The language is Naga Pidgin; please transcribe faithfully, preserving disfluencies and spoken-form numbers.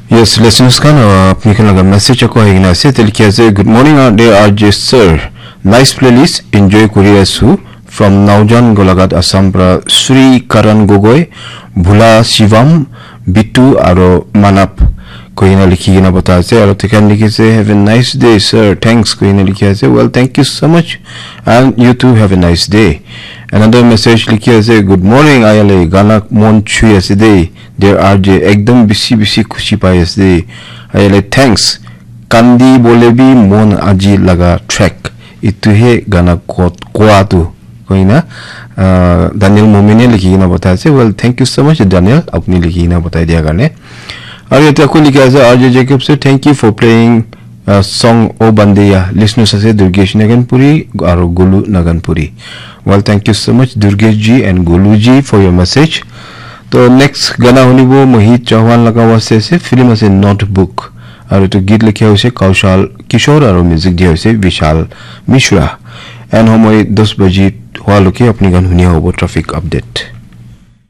Yes, listeners khan, uh, apni khan laga message ako ahi kena ase. Te likhi ase, "Good morning, uh, dear R J sir. Nice playlist, enjoy kuri asu. From Naujan Golaghat, Assam pra Sri Karan Gogoi, Bhula Shivam, Bittu aro Manap." Koi kena likhi kena bata ase. Aro tekhan likhi ase, "Have a nice day, sir. Thanks." Koi kena likhi ase. Well, thank you so much. And you too have a nice day. Another message likhi ase, "Good morning, ayale. Gana mon chui ase de. Dear R J, ekdom bisi bisi khushi pai ase de. Ayale, thanks. Kandi bole bi mon aji laga track. Itu he gana kot koa tu." Koi na, uh, Daniel Momine likhi kena bata ase. Well, thank you so much, Daniel. Apni likhi kena batai dia karne. Aru yate ako likhi ase, "R J Jacob sir, thank you for playing, uh, song O Bandeya." Listeners ase Durgesh Naganpuri aru Gulu Naganpuri. Well, thank you so much, Durgesh ji and Gulu ji, for your message. To next gana hunibo Mohit Chauhan laga waste ase, film ase Notebook. Aru to git likhi hoise Kaushal Kishore aru music dia hoise Vishal Mishra. And homoi dos baji hua loke apni khan hunia hobo traffic update.